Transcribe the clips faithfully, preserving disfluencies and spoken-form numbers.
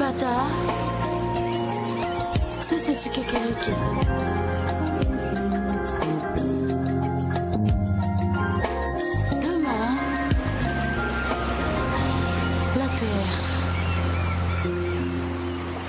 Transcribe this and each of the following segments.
Tata, sese ti kekereke. Demain, la terre.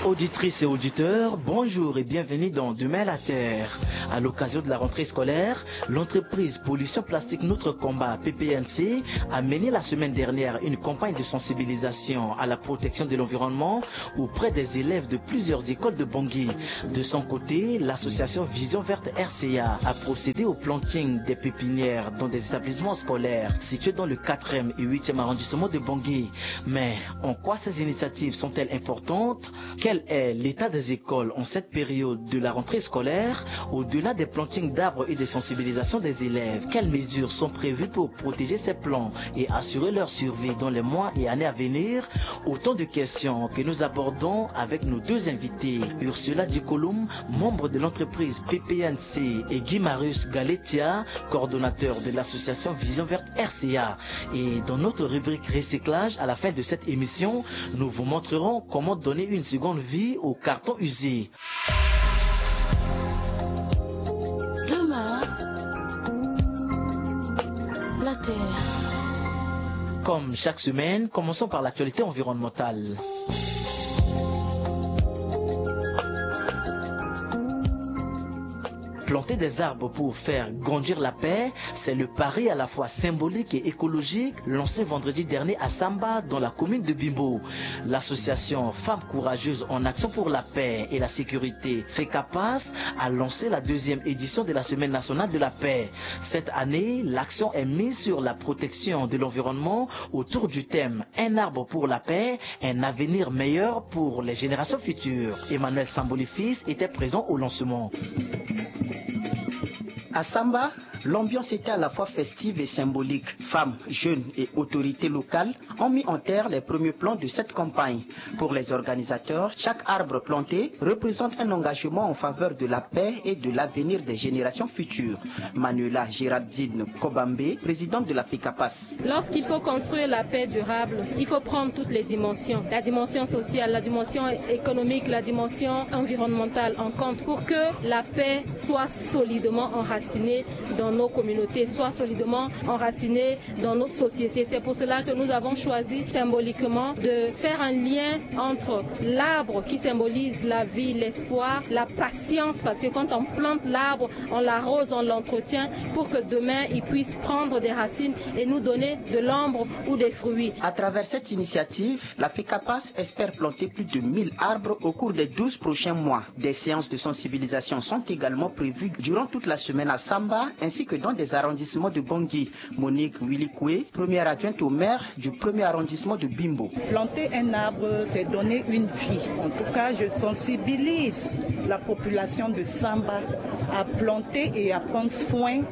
Auditrices et auditeurs, bonjour et bienvenue dans Demain la Terre. À l'occasion de la rentrée scolaire, l'entreprise Pollution Plastique Notre Combat, P P N C, a mené la semaine dernière une campagne de sensibilisation à la protection de l'environnement auprès des élèves de plusieurs écoles de Bangui. De son côté, l'association Vision Verte R C A a procédé au planting des pépinières dans des établissements scolaires situés dans le quatrième et huitième arrondissement de Bangui. Mais en quoi ces initiatives sont-elles importantes ? Quel est l'état des écoles en cette période de la rentrée scolaire ? Au-delà des plantings d'arbres et des sensibilisations des élèves, quelles mesures sont prévues pour protéger ces plants et assurer leur survie dans les mois et années à venir ? Autant de questions que nous abordons avec nos deux invités, Ursula Dikolum, membre de l'entreprise P P N C, et Guy Marius Galetia, coordonnateur de l'association Vision Verte R C A. Et dans notre rubrique recyclage, à la fin de cette émission, nous vous montrerons comment donner une seconde vie aux cartons usés. Demain, la terre. Comme chaque semaine, commençons par l'actualité environnementale. Planter des arbres pour faire grandir la paix, c'est le pari à la fois symbolique et écologique lancé vendredi dernier à Samba, dans la commune de Bimbo. L'association Femmes Courageuses en Action pour la Paix et la Sécurité, FECAPAS, a lancé la deuxième édition de la Semaine nationale de la paix. Cette année, l'accent est mis sur la protection de l'environnement autour du thème « Un arbre pour la paix, un avenir meilleur pour les générations futures ». Emmanuel Samboli Fils était présent au lancement. À Samba, l'ambiance était à la fois festive et symbolique. Femmes, jeunes et autorités locales ont mis en terre les premiers plans de cette campagne. Pour les organisateurs, chaque arbre planté représente un engagement en faveur de la paix et de l'avenir des générations futures. Manuela Géraldine Kobambe, présidente de la FECAPAS. Lorsqu'il faut construire la paix durable, il faut prendre toutes les dimensions. La dimension sociale, la dimension économique, la dimension environnementale en compte pour que la paix soit solidement enracinée dans nos communautés, soit solidement enracinée dans notre société. C'est pour cela que nous avons choisi symboliquement de faire un lien entre l'arbre qui symbolise la vie, l'espoir, la patience, parce que quand on plante l'arbre, on l'arrose, on l'entretient pour que demain il puisse prendre des racines et nous donner de l'ombre ou des fruits. À travers cette initiative, la FECAPAS espère planter plus de mille arbres au cours des douze prochains mois. Des séances de sensibilisation sont également prévues durant toute la semaine à Samba ainsi que dans des arrondissements de Bangui. Monique Wilikwe, première adjointe au maire du premier arrondissement de Bimbo. Planter un arbre, c'est donner une vie. En tout cas, je sensibilise la population de Samba à planter et à prendre soin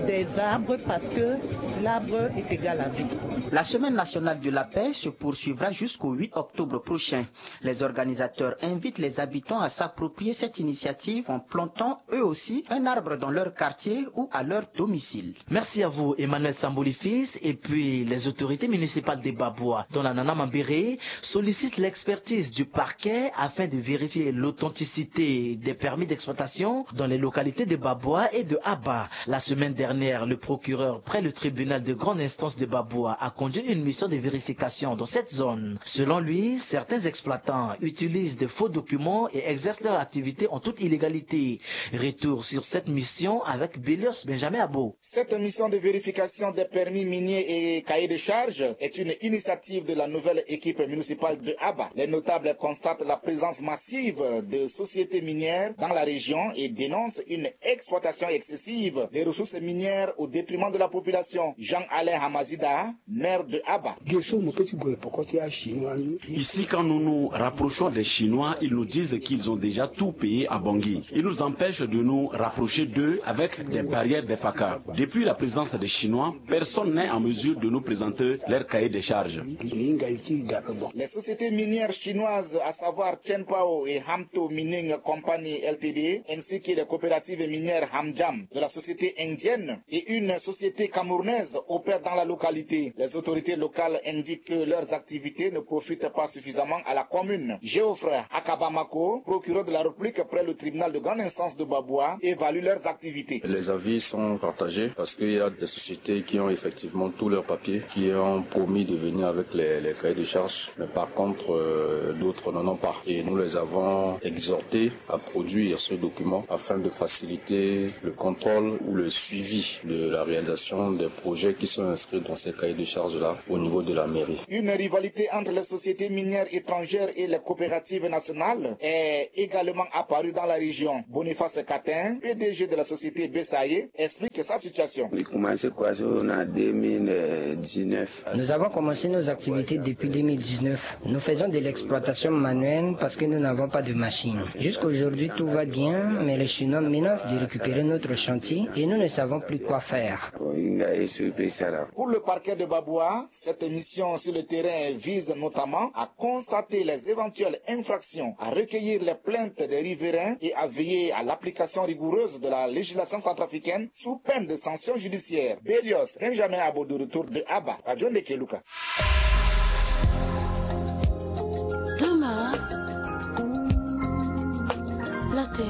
des arbres parce que l'arbre est égal à vie. La semaine nationale de la paix se poursuivra jusqu'au huit octobre prochain. Les organisateurs invitent les habitants à s'approprier cette initiative en plantant eux aussi un arbre dans leur quartier ou à leur domicile. Merci à vous, Emmanuel Samboli Fils. Et puis, les autorités municipales de Babwa, dont la Nana Mambéré, sollicitent l'expertise du parquet afin de vérifier l'authenticité des permis d'exploitation dans les localités de Babwa et de Aba. La semaine dernière, le procureur près le tribunal de grande instance de Babwa a conduit une mission de vérification dans cette zone. Selon lui, certains exploitants utilisent de faux documents et exercent leur activité en toute illégalité. Retour sur cette mission avec Belios Benjamin Abo. Cette mission de vérification des permis miniers et cahiers de charges est une initiative de la nouvelle équipe municipale de Aba. Les notables constatent la présence massive de sociétés minières dans la région et dénoncent une exploitation excessive des ressources minières au détriment de la population. Jean-Alain Hamazida, maire de Aba. Ici, quand nous nous rapprochons des Chinois, ils nous disent qu'ils ont déjà tout payé à Bangui. Ils nous empêchent de nous rapprocher d'eux avec des barrières, des fakas. Depuis la présence des Chinois, personne n'est en mesure de nous présenter leur cahier des charges. Les sociétés minières chinoises, à savoir Chenpao et Hamto Mining Company L T D, ainsi que les coopératives minières Hamjam de la société indienne et une société camerounaise opèrent dans la localité. Les autorités locales indiquent que leurs activités ne profitent pas suffisamment à la commune. Geoffrey Akabamako, procureur de la République près le tribunal de grande instance de Baboua, évalue leurs activités. Les avis sont partagés parce qu'il y a des sociétés qui ont effectivement tous leurs papiers, qui ont promis de venir avec les, les cahiers de charges. Mais par contre, euh, d'autres n'en ont pas. Et nous les avons exhortés à produire ce document afin de faciliter le contrôle ou le suivi de la réalisation des projets qui sont inscrits dans ces cahiers de charges-là au niveau de la mairie. Une rivalité entre les sociétés minières étrangères et les coopératives nationales est également apparue dans la région. Boniface Catin, P D G de la société Bessaye, explique sa situation. Il commençait quoi, ça, on a deux mille dix-neuf. Nous avons commencé nos activités depuis deux mille dix-neuf. Nous faisons de l'exploitation manuelle parce que nous n'avons pas de machine. Jusqu'aujourd'hui, tout va bien, mais les Chinois menacent de récupérer notre chantier et nous ne savons plus quoi faire. Pour le parquet de Baboua, cette mission sur le terrain vise notamment à constater les éventuelles infractions, à recueillir les plaintes des riverains et à veiller à l'application rigoureuse de la législation centrafricaine sous peine de sanctions judiciaires. Belios Benjamin Abo, de retour de Aba, Radio Ndeke Luka. Thomas, la terre.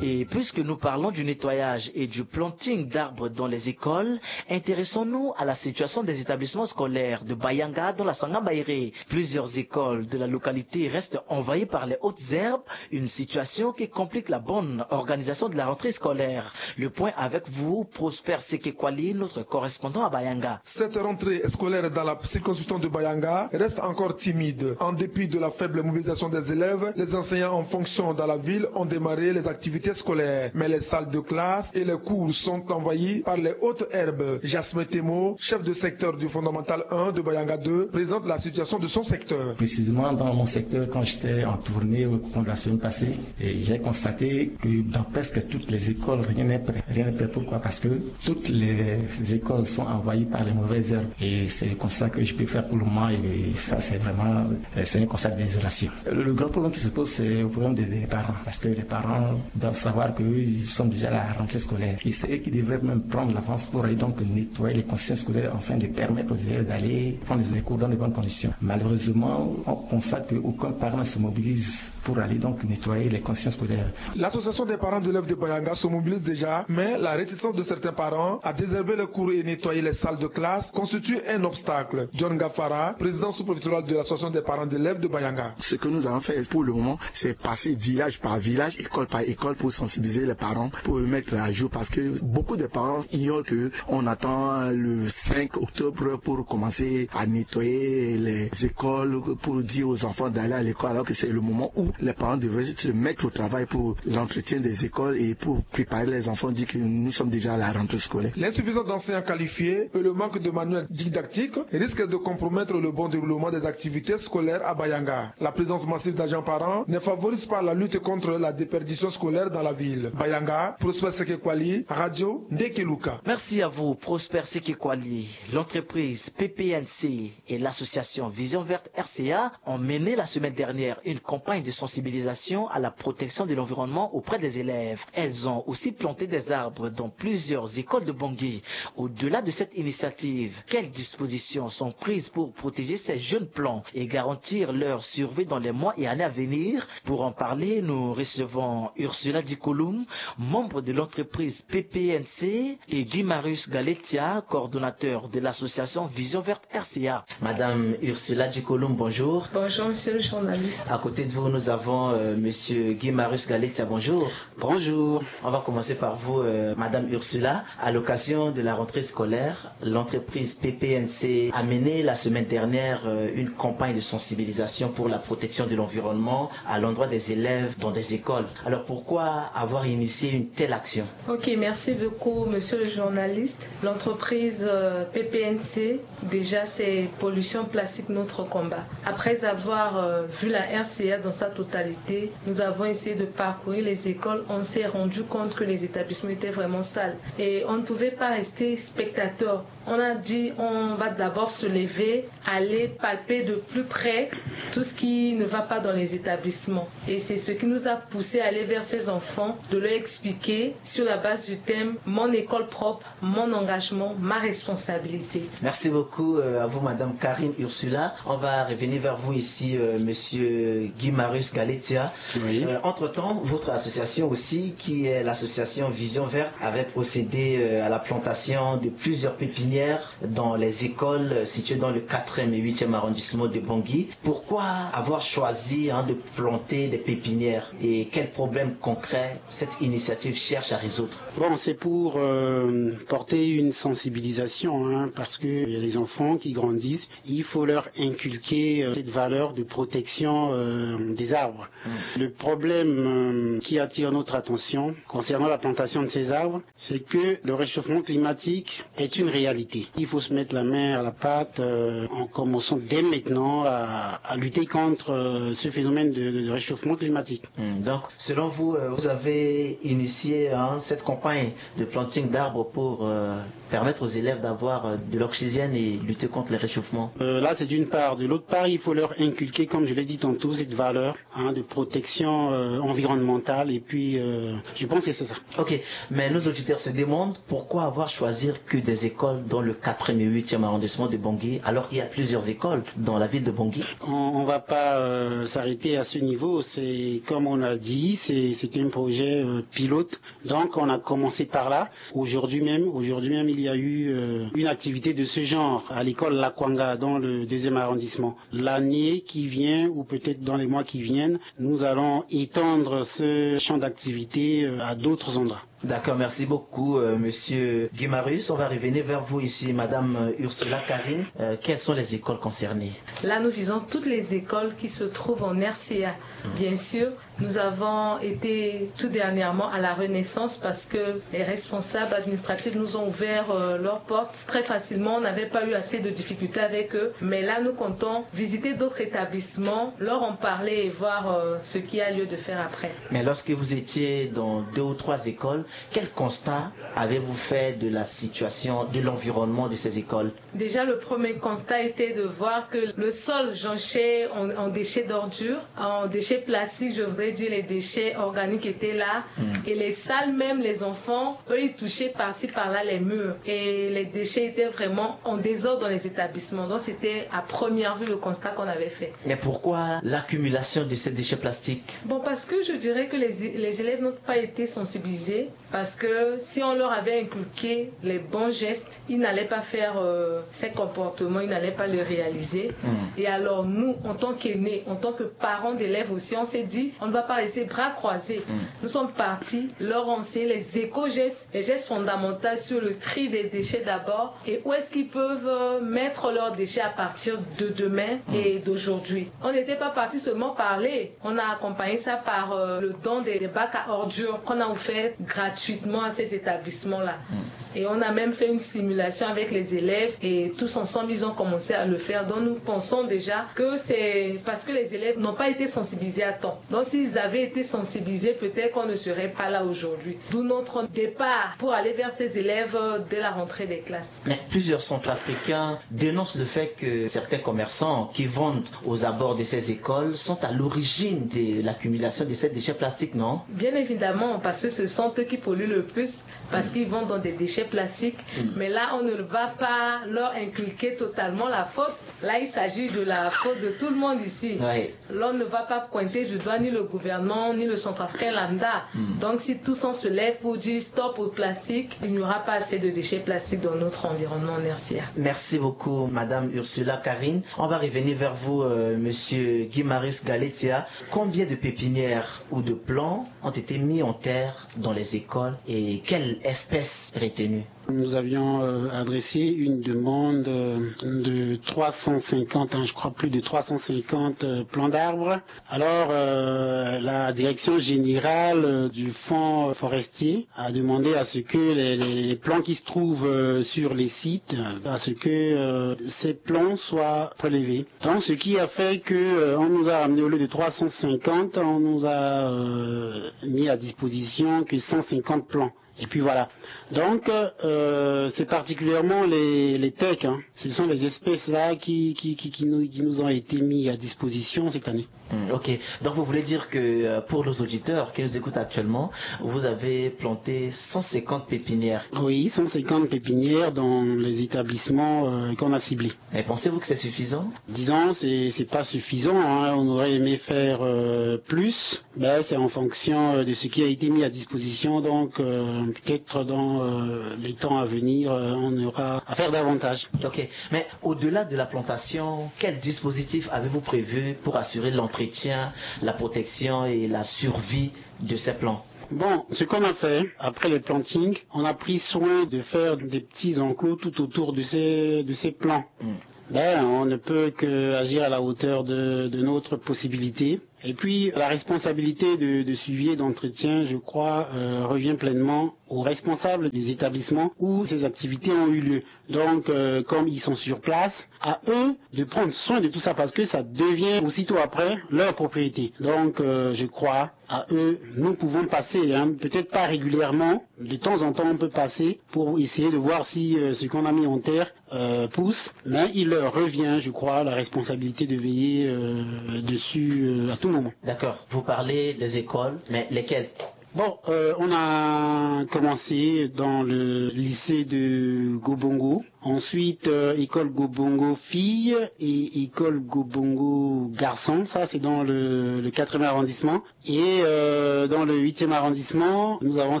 Et puisque nous parlons du nettoyage et du planting d'arbres dans les écoles, intéressons-nous à la situation des établissements scolaires de Bayanga dans la Sangamba Ere. Plusieurs écoles de la localité restent envahies par les hautes herbes, une situation qui complique la bonne organisation de la rentrée scolaire. Le point avec vous, Prosper Sekekwali, notre correspondant à Bayanga. Cette rentrée scolaire dans la circonscription de Bayanga reste encore timide. En dépit de la faible mobilisation des élèves, les enseignants en fonction dans la ville ont démarré les activités scolaires. Mais les salles de classe et les cours sont envahies par les hautes herbes. Jasmin Temo, chef de secteur du fondamental un de Bayanga deux, présente la situation de son secteur. Précisément dans mon secteur, quand j'étais en tournée au cours de la semaine passée, et j'ai constaté que dans presque toutes les écoles, rien n'est prêt. Rien n'est prêt. Pourquoi ? Parce que toutes les écoles sont envahies par les mauvaises herbes. Et c'est comme ça que je peux faire pour le moment. Et ça, c'est vraiment, euh, c'est un constat de désolation. Le, le grand problème qui se pose, c'est le problème des, des parents. Parce que les parents doivent savoir qu'ils sont déjà à la rentrée scolaire. Et c'est eux qui devraient même prendre l'avance pour aller donc nettoyer les conditions scolaires afin de permettre aux élèves d'aller prendre les cours dans de bonnes conditions. Malheureusement, on constate qu'aucun parent ne se mobilise pour aller donc nettoyer les conditions scolaires. L'association des parents d'élèves de Bayanga se mobilise déjà, mais la réticence de certains parents à désherber les cours et nettoyer les salles de classe constitue un obstacle. John Gaffara, président sous-préfectoral de l'association des parents d'élèves de Bayanga. Ce que nous allons faire pour le moment, c'est passer village par village, école par école, pour sensibiliser les parents, pour les mettre à jour, parce que beaucoup de parents ignorent que on attend le cinq octobre pour commencer à nettoyer les écoles, pour dire aux enfants d'aller à l'école, alors que c'est le moment où les parents devraient se mettre au travail pour l'entretien des écoles et pour préparer les enfants, dire que nous sommes déjà à la rentrée scolaire. L'insuffisance d'enseignants qualifiés et le manque de manuels didactiques risquent de compromettre le bon déroulement des activités scolaires à Bayanga. La présence massive d'agents parents ne favorise pas la lutte contre la déperdition scolaire dans la ville. Bayanga, Prosper Sekekwali, Radio Ndeke Luka. Merci à vous, Prosper Sekekwali. L'entreprise P P N C et l'association Vision Verte R C A ont mené la semaine dernière une campagne de sensibilisation à la protection de l'environnement auprès des élèves. Elles ont aussi planté des arbres dans plusieurs écoles de Bangui. Au-delà de cette initiative, quelles dispositions sont prises pour protéger ces jeunes plants et garantir leur survie dans les mois et années à venir ? Pour en parler, nous recevons Ursula Dikolum, membre de l'entreprise P P N C, et Guy Marius Galetia, coordonnateur de l'association Vision Verte R C A. Madame Ursula Dikolum, bonjour. Bonjour, monsieur le journaliste. À côté de vous, nous avons, euh, monsieur Guy Marius Galetia, bonjour. Bonjour. On va commencer par vous, euh, Madame Ursula. À l'occasion de la rentrée scolaire, l'entreprise P P N C a mené la semaine dernière, euh, une campagne de sensibilisation pour la protection de l'environnement à l'endroit des élèves dans des écoles. Alors pourquoi avoir initié une telle action ? Ok, merci beaucoup, monsieur le journaliste. L'entreprise, euh, P P N C, déjà, c'est pollution plastique, notre combat. Après avoir, euh, vu la R C A dans sa totalité, nous avons essayé de parcourir les écoles. On s'est rendu compte que les établissements étaient vraiment sales. Et on ne pouvait pas rester spectateur. On a dit, on va d'abord se lever, aller palper de plus près tout ce qui ne va pas dans les établissements. Et c'est ce qui nous a poussé à aller vers ces enfants. enfants, de leur expliquer sur la base du thème « Mon école propre, mon engagement, ma responsabilité ». Merci beaucoup, euh, à vous, Madame Karine Ursula. On va revenir vers vous ici, euh, Monsieur Guy Marius Galetia. Oui. Euh, entre-temps, votre association aussi, qui est l'association Vision Verte, avait procédé, euh, à la plantation de plusieurs pépinières dans les écoles, euh, situées dans le quatrième et huitième arrondissement de Bangui. Pourquoi avoir choisi, hein, de planter des pépinières et quels problèmes concrets cette initiative cherche à résoudre ? Bon, c'est pour, euh, porter une sensibilisation, hein, parce que il y a les enfants qui grandissent, il faut leur inculquer, euh, cette valeur de protection, euh, des arbres. Le problème, euh, qui attire notre attention concernant la plantation de ces arbres, c'est que le réchauffement climatique est une réalité. Il faut se mettre la main à la pâte, euh, en commençant dès maintenant à, à lutter contre, euh, ce phénomène de, de réchauffement climatique. Hmm, donc, selon vous, euh, vous avez initié, hein, cette campagne de planting d'arbres pour, euh, permettre aux élèves d'avoir, euh, de l'oxygène et lutter contre les réchauffements ? Euh, là, c'est d'une part. De l'autre part, il faut leur inculquer, comme je l'ai dit tantôt, cette valeur, hein, de protection, euh, environnementale. Et puis, euh, je pense que c'est ça. Ok, mais nos auditeurs se demandent pourquoi avoir choisi que des écoles dans le quatrième et huitième arrondissement de Bangui, alors qu'il y a plusieurs écoles dans la ville de Bangui. On, on va pas, euh, s'arrêter à ce niveau. C'est, comme on a dit, c'est, c'est un projet, euh, pilote. Donc, on a commencé par là. Aujourd'hui même, aujourd'hui même, il y a eu, euh, une activité de ce genre à l'école Lakwanga, dans le deuxième arrondissement. L'année qui vient, ou peut-être dans les mois qui viennent, nous allons étendre ce champ d'activité, euh, à d'autres endroits. D'accord, merci beaucoup, euh, Monsieur Guimarius. On va revenir vers vous ici, Madame, euh, Ursula Karine. Euh, quelles sont les écoles concernées ? Là, nous visons toutes les écoles qui se trouvent en R C A. Bien sûr, nous avons été tout dernièrement à la Renaissance parce que les responsables administratifs nous ont ouvert, euh, leurs portes très facilement. On n'avait pas eu assez de difficultés avec eux. Mais là, nous comptons visiter d'autres établissements, leur en parler et voir, euh, ce qu'il y a lieu de faire après. Mais lorsque vous étiez dans deux ou trois écoles, quel constat avez-vous fait de la situation, de l'environnement de ces écoles ? Déjà, le premier constat était de voir que le sol jonché en, en déchets d'ordures, en déchets plastiques, je voudrais dire, les déchets organiques étaient là. Mm. Et les salles même, les enfants, eux, ils touchaient par-ci, par-là les murs. Et les déchets étaient vraiment en désordre dans les établissements. Donc, c'était à première vue le constat qu'on avait fait. Mais pourquoi l'accumulation de ces déchets plastiques ? Bon, parce que je dirais que les, les élèves n'ont pas été sensibilisés. Parce que si on leur avait inculqué les bons gestes, ils n'allaient pas faire, euh, ces comportements, ils n'allaient pas le réaliser. Mm. Et alors nous, en tant qu'aînés, en tant que parents d'élèves aussi, on s'est dit, on ne va pas rester bras croisés. Mm. Nous sommes partis leur enseigner les éco-gestes, les gestes fondamentaux sur le tri des déchets d'abord et où est-ce qu'ils peuvent, euh, mettre leurs déchets à partir de demain, mm, et d'aujourd'hui. On n'était pas parti seulement parler. On a accompagné ça par, euh, le don des, des bacs à ordures qu'on a offert gratuitement à ces établissements-là. Mm. Et on a même fait une simulation avec les élèves et tous ensemble, ils ont commencé à le faire. Donc nous pensons déjà que c'est parce que les élèves n'ont pas été sensibilisés à temps. Donc s'ils avaient été sensibilisés, peut-être qu'on ne serait pas là aujourd'hui. D'où notre départ pour aller vers ces élèves, euh, dès la rentrée des classes. Mais plusieurs centrafricains dénoncent le fait que certains commerçants qui vendent aux abords de ces écoles sont à l'origine de l'accumulation de ces déchets plastiques, non ? Bien évidemment, parce que ce sont eux qui polluent le plus, parce, mm, qu'ils vendent dans des déchets plastiques. Mm. Mais là, on ne va pas leur inculquer totalement la faute. Là, il s'agit de la faute de tout le monde ici. Oui. Là, on ne va pas pointer du doigt ni le gouvernement, ni le centrafricain lambda. Mm. Donc, si tous on se lève pour dire stop au plastique, il n'y aura pas assez de déchets plastiques dans notre environnement en R C A. Merci beaucoup, Madame Ursula Karine. On va revenir vers vous, euh, Monsieur Guimarius Galetia. Combien de pépinières ou de plants ont été mis en terre dans les écoles et quelle espèce retenue ? Nous avions, euh, adressé une demande, euh, de trois cent cinquante, hein, je crois plus de trois cent cinquante, euh, plants d'arbres. Alors, euh, la direction générale, euh, du fonds forestier a demandé à ce que les, les, les plants qui se trouvent, euh, sur les sites, euh, à ce que, euh, ces plants soient prélevés. Donc, ce qui a fait que, euh, on nous a ramené, au lieu de trois cent cinquante, on nous a, euh, mis à disposition que cent cinquante plants. Et puis voilà. Donc, euh, c'est particulièrement les, les tecs, hein. Ce sont les espèces-là qui, qui, qui, qui nous, qui nous ont été mis à disposition cette année. Hmm, ok. Donc vous voulez dire que euh, pour nos auditeurs qui nous écoutent actuellement, vous avez planté cent cinquante pépinières. Oui, cent cinquante pépinières dans les établissements euh, qu'on a ciblés. Et pensez-vous que c'est suffisant ? Disons, c'est c'est pas suffisant, hein. On aurait aimé faire euh, plus. Ben, c'est en fonction euh, de ce qui a été mis à disposition. Donc, euh, peut-être dans euh, les temps à venir, euh, on aura à faire davantage. Ok. Mais au-delà de la plantation, quel dispositif avez-vous prévu pour assurer l'entretien, la protection et la survie de ces plants ? Bon, ce qu'on a fait après le planting, on a pris soin de faire des petits enclos tout autour de ces, de ces plants. Hmm. Ben, on ne peut que agir à la hauteur de, de notre possibilité. Et puis, la responsabilité de, de suivi et d'entretien, je crois, euh, revient pleinement aux responsables des établissements où ces activités ont eu lieu. Donc, euh, comme ils sont sur place, à eux de prendre soin de tout ça parce que ça devient aussitôt après leur propriété. Donc, euh, je crois, à eux, nous pouvons passer, hein, peut-être pas régulièrement, de temps en temps on peut passer pour essayer de voir si euh, ce qu'on a mis en terre euh, pousse, mais il leur revient, je crois, la responsabilité de veiller euh, dessus euh, à tout moment. D'accord. Vous parlez des écoles, mais lesquelles ? Bon, euh, on a commencé dans le lycée de Gobongo, ensuite euh, école Gobongo fille et école Gobongo garçon, ça c'est dans le, le quatrième arrondissement. Et euh, dans le huitième arrondissement, nous avons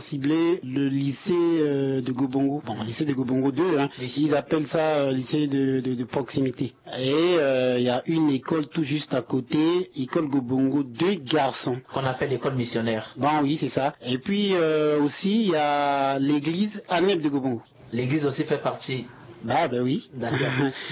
ciblé le lycée euh, de Gobongo. Bon, lycée de Gobongo deux, hein. Oui. Ils appellent ça euh, lycée de, de, de proximité. Et euh, il y a une école tout juste à côté, école Gobongo deux garçons. Qu'on appelle l'école missionnaire. Bon, oui, c'est ça. Et puis euh, aussi, il y a l'église Aneb de Gobongo. L'église aussi fait partie. Ah ben oui. D'accord.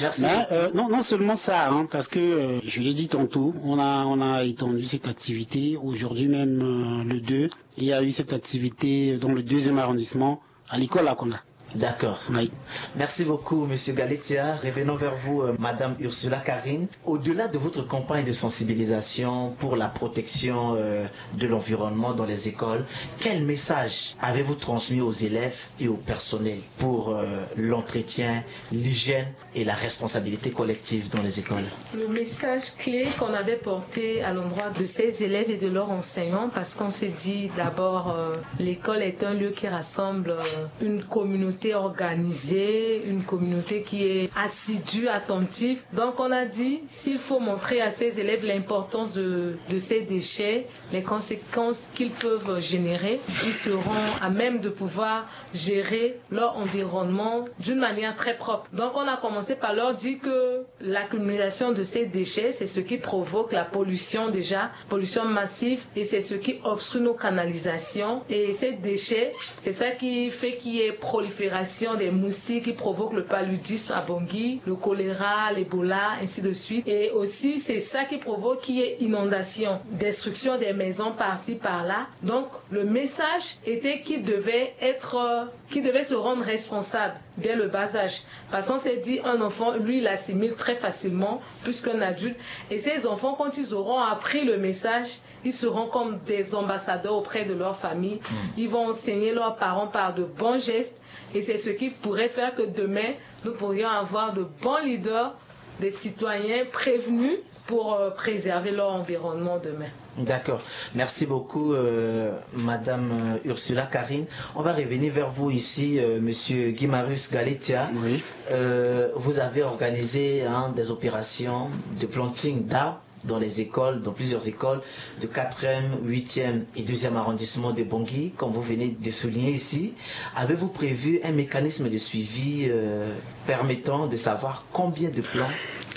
Merci. Mais, euh, non, non seulement ça, hein, parce que euh, je l'ai dit tantôt, on a, on a étendu cette activité. Aujourd'hui même, euh, le deux, il y a eu cette activité dans le deuxième arrondissement, à l'école Lakonga. D'accord. Oui. Merci beaucoup, Monsieur Galetia. Revenons vers vous, euh, Madame Ursula Karine. Au-delà de votre campagne de sensibilisation pour la protection euh, de l'environnement dans les écoles, quel message avez-vous transmis aux élèves et au personnel pour euh, l'entretien, l'hygiène et la responsabilité collective dans les écoles ? Le message clé qu'on avait porté à l'endroit de ces élèves et de leurs enseignants, parce qu'on s'est dit d'abord, euh, l'école est un lieu qui rassemble euh, une communauté organisée, une communauté qui est assidue, attentive. Donc on a dit, s'il faut montrer à ces élèves l'importance de, de ces déchets, les conséquences qu'ils peuvent générer, ils seront à même de pouvoir gérer leur environnement d'une manière très propre. Donc on a commencé par leur dire que l'accumulation de ces déchets, c'est ce qui provoque la pollution déjà, pollution massive, et c'est ce qui obstrue nos canalisations. Et ces déchets, c'est ça qui fait qu'il y ait prolifération des moustiques, qui provoque le paludisme à Bangui, le choléra, l'Ebola, ainsi de suite. Et aussi, c'est ça qui provoque qu'il y ait inondation, destruction des maisons par-ci, par-là. Donc, le message était qu'il devait être, euh, qu'il devait se rendre responsable dès le bas âge. Parce qu'on s'est dit, un enfant, lui, il assimile très facilement, plus qu'un adulte. Et ces enfants, quand ils auront appris le message, ils seront comme des ambassadeurs auprès de leur famille. Ils vont enseigner leurs parents par de bons gestes. Et c'est ce qui pourrait faire que demain, nous pourrions avoir de bons leaders, des citoyens prévenus pour euh, préserver leur environnement demain. D'accord. Merci beaucoup, euh, Madame euh, Ursula Karine. On va revenir vers vous ici, euh, Monsieur Guimarus Galetia. Oui. Euh, vous avez organisé hein, des opérations de planting d'arbres dans les écoles, dans plusieurs écoles de quatrième, huitième et deuxième arrondissement de Bangui, comme vous venez de souligner ici. Avez-vous prévu un mécanisme de suivi euh, permettant de savoir combien de plants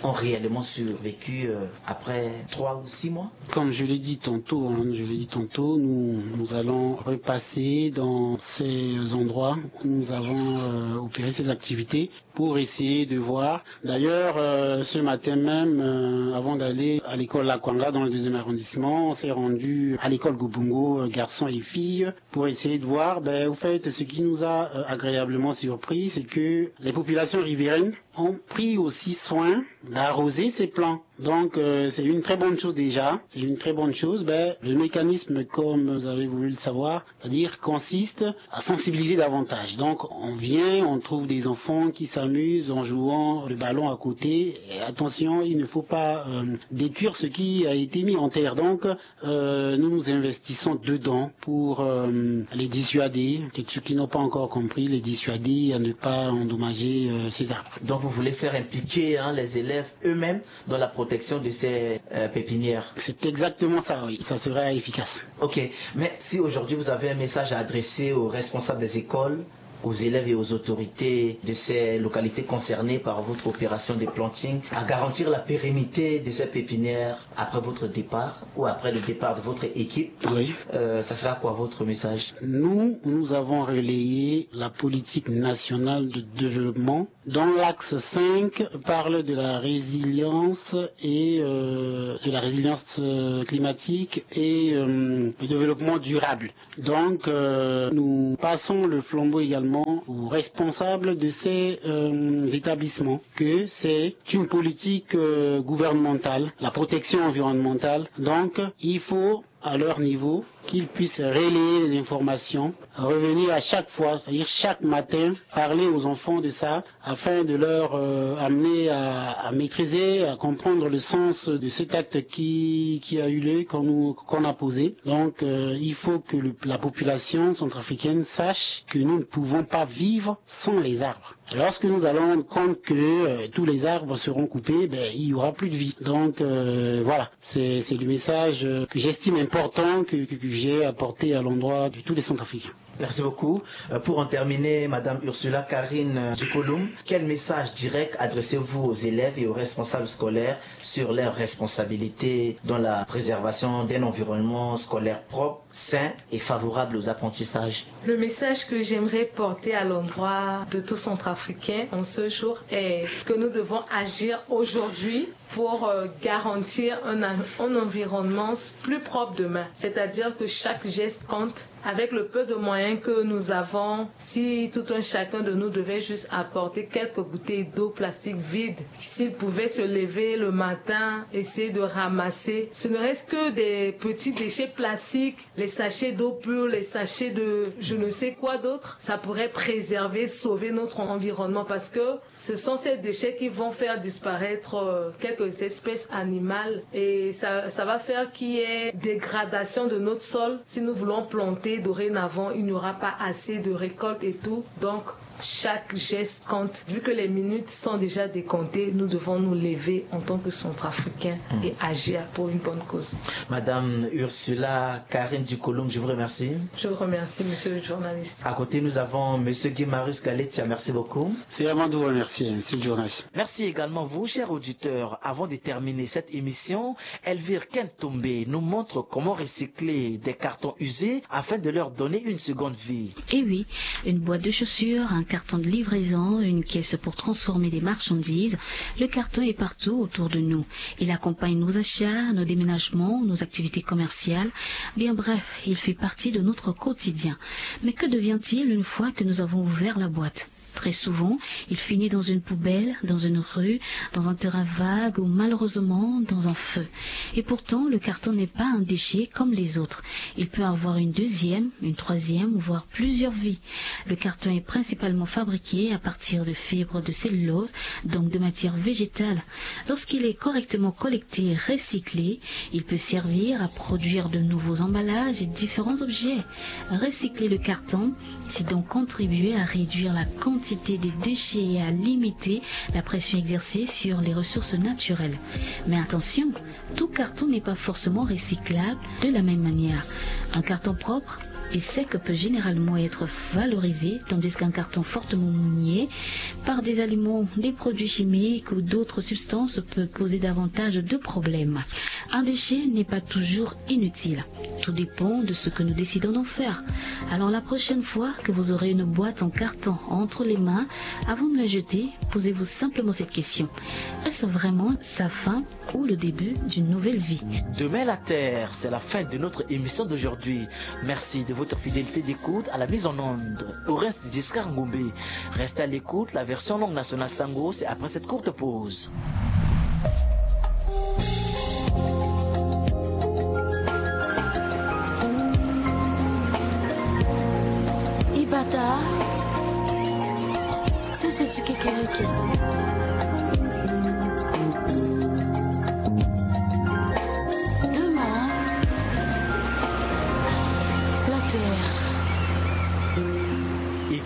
ont réellement survécu euh, après trois ou six mois ? Comme je l'ai dit tantôt, hein, je l'ai dit tantôt, nous, nous allons repasser dans ces endroits où nous avons euh, opéré ces activités pour essayer de voir. D'ailleurs, euh, ce matin même, euh, avant d'aller à l'école Lakwanga dans le deuxième arrondissement, on s'est rendu à l'école Gobongo, euh, garçons et filles, pour essayer de voir. Ben, au fait, ce qui nous a euh, agréablement surpris, c'est que les populations riveraines ont pris aussi soin d'arroser ces plants. Donc, euh, c'est une très bonne chose déjà. C'est une très bonne chose. Ben, le mécanisme, comme vous avez voulu le savoir, c'est-à-dire consiste à sensibiliser davantage. Donc, on vient, on trouve des enfants qui s'amusent en jouant le ballon à côté. Et attention, il ne faut pas euh, détruire ce qui a été mis en terre. Donc, euh, nous nous investissons dedans pour euh, les dissuader, que ceux qui n'ont pas encore compris, les dissuader à ne pas endommager euh, ces arbres. Donc, vous voulez faire impliquer hein, les élèves eux-mêmes dans la protection de ces euh, pépinières. C'est exactement ça, oui. Ça sera efficace. Ok, mais si aujourd'hui vous avez un message à adresser aux responsables des écoles, aux élèves et aux autorités de ces localités concernées par votre opération de planting, à garantir la pérennité de ces pépinières après votre départ ou après le départ de votre équipe, Oui. euh, ça sera quoi votre message ? Nous, nous avons relayé la politique nationale de développement dont l'axe cinq parle de la résilience et euh, de la résilience euh, climatique et euh, le développement durable. Donc, euh, nous passons le flambeau également aux responsables de ces euh, établissements, que c'est une politique euh, gouvernementale, la protection environnementale. Donc, il faut à leur niveau, qu'ils puissent relayer les informations, revenir à chaque fois, c'est-à-dire chaque matin, parler aux enfants de ça, afin de leur euh, amener à, à maîtriser, à comprendre le sens de cet acte qui, qui a eu lieu, qu'on nous- qu'on a posé. Donc, euh, il faut que le- la population centrafricaine sache que nous ne pouvons pas vivre sans les arbres. Lorsque nous allons rendre compte que euh, tous les arbres seront coupés, ben, il y aura plus de vie. Donc, euh, voilà, c'est c'est le message euh, que j'estime important que, que, que j'ai apporté à l'endroit de tous les Centrafricains. Merci beaucoup. Euh, pour en terminer, Madame Ursula Karine euh, Dukolum, quel message direct adressez-vous aux élèves et aux responsables scolaires sur leurs responsabilités dans la préservation d'un environnement scolaire propre, sain et favorable aux apprentissages ? Le message que j'aimerais porter à l'endroit de tout Centrafricain en ce jour est que nous devons agir aujourd'hui pour euh, garantir un, un environnement plus propre demain. C'est-à-dire que chaque geste compte. Avec le peu de moyens que nous avons, si tout un chacun de nous devait juste apporter quelques bouteilles d'eau plastique vides, s'il pouvait se lever le matin, essayer de ramasser, ce ne reste que des petits déchets plastiques, les sachets d'eau pure, les sachets de je ne sais quoi d'autre, ça pourrait préserver, sauver notre environnement parce que ce sont ces déchets qui vont faire disparaître euh, quelques espèces animales et ça, ça va faire qu'il y ait dégradation de notre sol. Si nous voulons planter dorénavant, il n'y aura pas assez de récoltes et tout. Donc, chaque geste compte. Vu que les minutes sont déjà décomptées, nous devons nous lever en tant que Centrafricains et agir pour une bonne cause. Madame Ursula Karine Dukolum, je vous remercie. Je vous remercie, monsieur le journaliste. À côté, nous avons Monsieur Guy Marius Galetia. Merci beaucoup. C'est à moi de vous remercier, monsieur le journaliste. Merci également vous, chers auditeurs. Avant de terminer cette émission, Elvire Kentombe nous montre comment recycler des cartons usés afin de leur donner une seconde vie. Eh oui, une boîte de chaussures, un carton de livraison, une caisse pour transformer des marchandises. Le carton est partout autour de nous. Il accompagne nos achats, nos déménagements, nos activités commerciales. Bien bref, il fait partie de notre quotidien. Mais que devient-il une fois que nous avons ouvert la boîte ? Très souvent, il finit dans une poubelle, dans une rue, dans un terrain vague ou malheureusement dans un feu. Et pourtant, le carton n'est pas un déchet comme les autres. Il peut avoir une deuxième, une troisième, voire plusieurs vies. Le carton est principalement fabriqué à partir de fibres de cellulose, donc de matière végétale. Lorsqu'il est correctement collecté et recyclé, il peut servir à produire de nouveaux emballages et différents objets. Recycler le carton, c'est donc contribuer à réduire la quantité des déchets et à limiter la pression exercée sur les ressources naturelles. Mais attention, tout carton n'est pas forcément recyclable de la même manière. Un carton propre et sec peut généralement être valorisé, tandis qu'un carton fortement mouillé par des aliments, des produits chimiques ou d'autres substances peut poser davantage de problèmes. Un déchet n'est pas toujours inutile. Tout dépend de ce que nous décidons d'en faire. Alors la prochaine fois que vous aurez une boîte en carton entre les mains, avant de la jeter, posez-vous simplement cette question. Est-ce vraiment sa fin ou le début d'une nouvelle vie ? Demain la Terre, c'est la fin de notre émission d'aujourd'hui. Merci de votre fidélité d'écoute à la mise en onde. Horace Giscard Ngombe. Restez à l'écoute, la version langue nationale Sango, c'est après cette courte pause.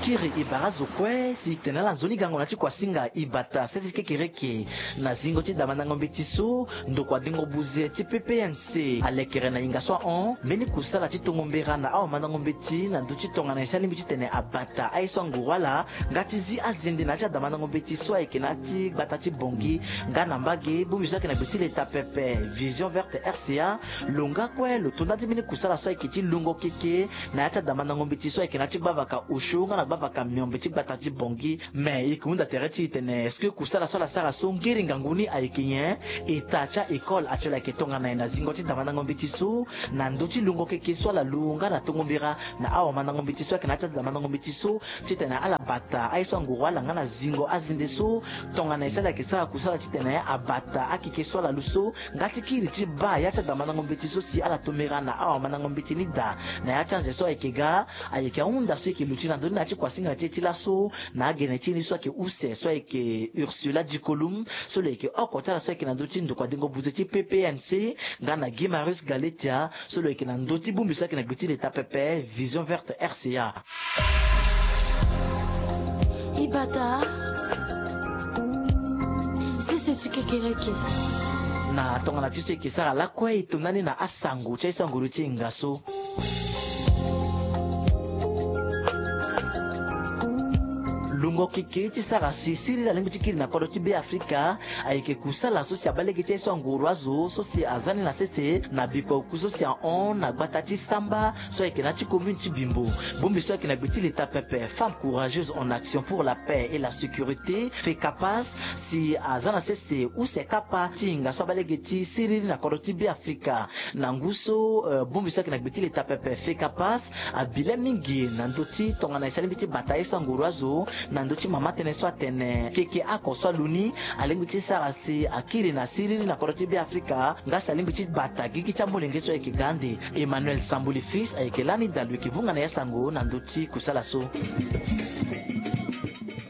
Iri e bara azo kue si e tene ala nzoni gango na ti kuasinga e bata sese ti kekereke na zingo ti damandango mbeti so ndokua dengo buze ti P P N C alekere na yinga so ahon mbeni kusala ti tongo mbera na awamandango mbeti na ndö ti tongana e si alingbi ti tene abata aye so anguru ala nga ti zi azende na ya ti adamandango mbeti so ayeke na ya ti gbata ti Bangui. Nga na mbage bongbi so ayeke na gbe ti leta pepe Vision Verte R C A lo nga kue lo to nda ti mbeni kusala so ayeke ti lungo keke na ya ti adamandango mbeti so ayeke na ya ti gbavaka Osio nga na gbavaka Miombe ti gbata ti Bangui. Me e yeke hunda tere ti e tene est-ce que kusala so ala sara so ngeri ngangu ni ayeke nyen? Eta ti a-école actuel ayeke tongana e na zingo ti damandango mbeti so na ndö ti lungo keke so ala lu nga na tongo mbera na awamandango mbeti so ayeke na ya ti adamandango mbeti so titene ala bata aye so anguru ala nga na zingo azende so. Tongana e si ala yeke sara kusala titene abata akeke so ala lu so nga ti kiri ti baa ya ti adamandango mbeti so si ala tombera na awamandango mbeti ni daa na ya ti anze so ayeke ga. Ayeke ahunda so e yeke luti na ndö ni na ya ti kuasinga ti e ti laso na agene ti e ni so ayeke use so ayeke Ursula Dikolum so lo yeke oko ti ala so ayeke na ndö ti ndokua dengo buze ti P P N C nga na Guy Marius Galetia so lo yeke na ndö ti bongbi so ayeke na gbe ti leta pepe Vision Verte R C A. E bata sese ti kekereke. Na tongana ti so e yeke sara lakue e to ndani na asango ti aye so anguru ti e nga so. Lungo keke ti sara si siriri alingbi ti kiri na kodro ti Beafrika ayeke kusala so si abaa lege ti aye so anguru azo so si aza ni na sese na bikua oku so si ahon na gbata ti Samba so ayeke na ya ti commune ti Bimbo. Bongbi so ayeke na gbe ti leta pepe Femmes courageuses en action pour la paix et la sécurité, FECAPAS, si aza na sese use kapa ti hinga so abaa lege ti siriri na kodro ti Beafrika. Na ngu so eh, bongbi so ayeke na gbe ti leta pepe FECAPAS abi le mingi na ndö ti tongana e si alingbi ti bata ye so anguru azo na ndö ti mama tënë so atene keke oko so alu ni alingbi ti sara si akiri na siriri na kodro ti Beafrika nga si alingbi ti bata gigi ti amolenge so ayeke ga ande. Emmanuel Sambuli Fils ayeke lani daa lo yeke vunga na ya sango na ndö ti kusala so.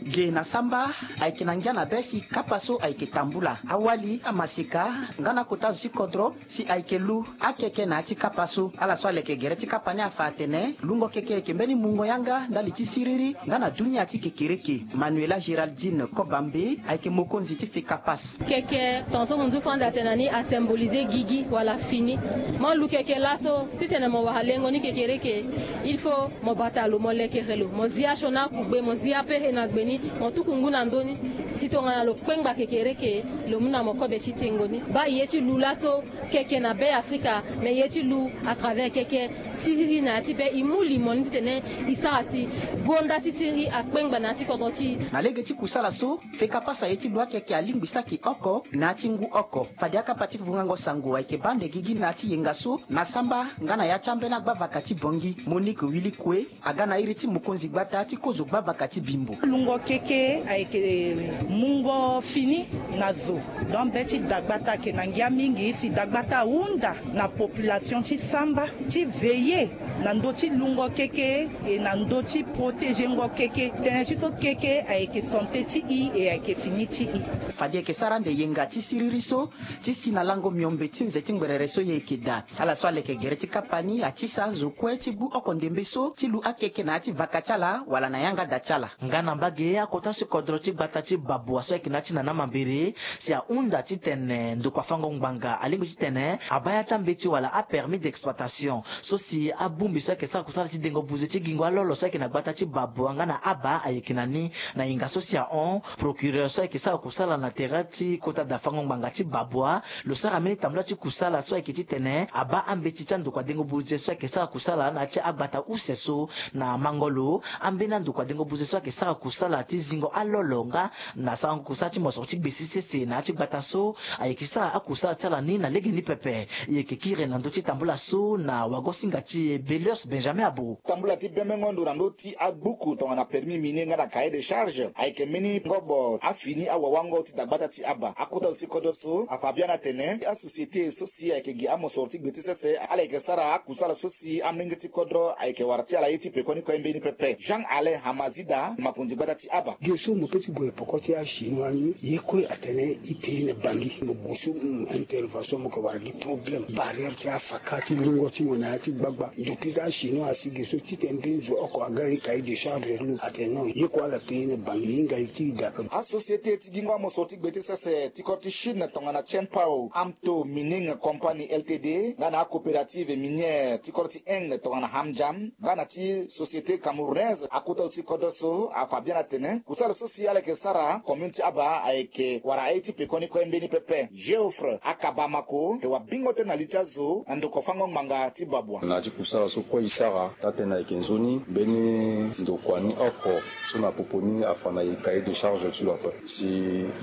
Ge na Samba ayeke na ngia na be si kapa so ayeke tambula awali amaseka nga na kota zo ti kodro si ayeke lu akeke na ya ti kapa so. Ala so aleke gere ti kapa ni afa atene lungo keke ayeke mbeni mungo yanga ndali ti siriri nga na dunia ti kekereke. Manuela Géraldine Kobambe ayeke mokonzi ti FECAPAS. Keke tongaso mo ndu fo ande atene na ni asymboliser gigi wala fini. Mo lu keke laso titene mo wara lengo ni kekereke, il faut mo bata lo, mo lekere lo, mo zi asioni akugbe, mo zi apehe na gbe ni, mo tuku ngu na ndö ni. Si tongana lo kpengba kekereke, lo mu na mo kobe ti tengo ni. Baa e ye ti lu laso keke na Beafrika, me e ye ti lu à travers keke siriri na ya ti be. E mu limo ni titene e sara si gonda ti siriri akpengba na ya ti kodro ti e. Na lege ti kusala so, FECAPAS aye ti lu akeke alingbi saki oko na ya ti ngu oko. Fade akapa ti vungango sango ayeke baa ande gigi na ya ti yenga so na Samba nga na ya ti ambeni agbavaka ti Bangui, Monique Willy Kue, aga na iri ti mokonzi gbata ti kozo gbavaka ti Bimbo. Lungo keke ayeke mungo fini na zo. Donc be ti dagbata ayeke na ngia mingi si dagbata ahunda na population ti Samba ti veiller na ndö ti lungo keke e na ndö ti protéger ngo keke. Tënë ti so keke ayeke santé ti e e ayeke fini ti e. Fade e yeke sara ande yenga ti siriri so ti si na lango miombe ti nze ti ngberere so e yeke daa. Ala so aleke gere ti kapa ni atisa azo kue ti gbu oko ndembe so ti lu akeke na ya ti vaka ti ala wala na yanga da ti ala. Nga na mbage akota si kodro ti gbata ti Babua so ayeke na ya ti nana mambere si ahunda titene ndokua fango ngbanga alingbi titene abaa ya ti ambeti wala apermis d'exploitation so si abongbi so ayeke sara kusala ti dengo buze ti gingo alolo so ayeke na gbata ti Babua nga na Aba ayeke na ni. Na hinga so si ahon, procureur so ayeke sara kusala na tere ti kota da fango ngbanga ti Babua lo sara mbeni tambula ti kusala so ayeke titene abaa ambeti ti andokua dengo buze so ayeke sara kusala na ya ti agbata use so. Na mango lo, ambeni andokua dengo buze so ayeke sara kusala ti zingo alolo nga na sarango kusala ti mosoro ti gbesi sese na ya ti gbata so ayeke sara akusala ti ala ni na legeni pepe. E yeke kiri na ndö ti tambula so na wago-singa ti e Belius Benjamin Abou. Tambula ti bembengo ndo na ndö ti agbuku tongana permis minier nga na cahier de charge ayeke mbeni ngobo afini awawango ti dagbata ti Aba. Akota zo ti kodro so afa biani atene asociété so si ayeke gi amosoro ti gbe ti sese ala yeke sara akusala so si amolenge ti kodro ayeke wara ti ala ye ti pekoni kue mbeni pepe. Jean Alain Hamazida, makonzi gbata ti Aba. Ge so mo pe ti gue peko ti achinois ni, ye kue atene e pays na Bangui. Mo gue so, mm, intervention, mo yeke wara gi problème, barrière ti afaka ti lungo ti mo na ya ti gbagba. Ndoki Za chinois asi ge so titene mbi nzo oko agara e cahier de charge lo atene non, ye kue ala pe ye na bangi hinga ye ti e daa ape. Asociété ti gingo amoso ti gbe ti sese ti kodro ti Chine tongana Chenpao Amto Mining Company Ltd nga na acoopérative minière ti kodro ti Inde tongana Hamjam nga na ti société camerounaise akota aussi kodro so afa bien atene kusala so si ala yeke sara commune ti Aba ayeke wara aye ti pekoni kue mbeni pepe. Geoffre Akabamako yeke wabingo tënë na li ti azo na ndoko fango ngbanga ti Babua. Na ya ti kusala so kue e sara taa-tënë ayeke nzoni mbeni ndokua ni oko so na popo ni afa na e cahier de charge ti lo ape. Si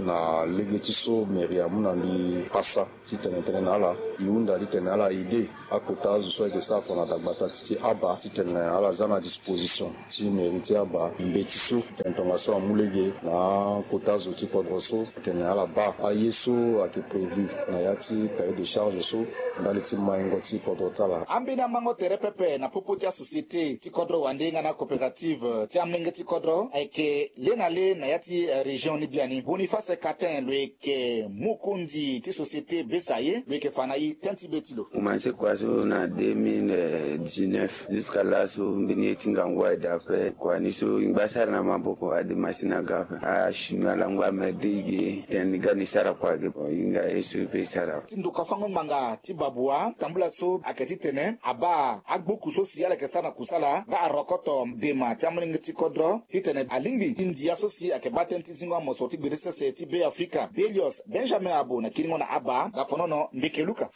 na lege ti so mairie amu na mbi pasa titene tënë na ala e hunda titene ala aide akota azo so ayeke sara kua na dagbata ti Aba titene ala za na disposition ti mairie ti Aba mbeti so titene tongaso amu lege na akota azo ti kodro so titene ala baa aye so ayeke prévu na ya ti cahier de charge so ndali ti maingo ti kodro ti ala. Ambeni amango tere pepe na popo ti asociété ti kodro wande nga na coopérative ti amolenge ti kodro ayeke le na le na ya ti, eh, région ni biani. Boniface Catin lo yeke mokonzi ti société Besaye lo yeke fa na e tënë ti be ti lo. Komanse kua so na deux mille dix-neuf jusqu'à laso mbeni ye ti ngangu aye daa ape. Kua ni so e ngba sara na maboko, ade masini aga ape. Achinois alango amerde e ge tene ni ga ni sara kua ge. Bon, e hinga ye so e pe e sara. Ti ndoka fango ngbanga ti Babua tambula so ayeke titene abaa agbuku so si ala yeke sara na kusala nga arokoto dema ti amolenge ti kodro titene alingbi ti ndia so si ayeke baa tënë ti zingo amoso ti gbere sese ti Be Afrika. Belios Benjamin Abo na kiringo na Aba, Gafonono, Ndeke Luka.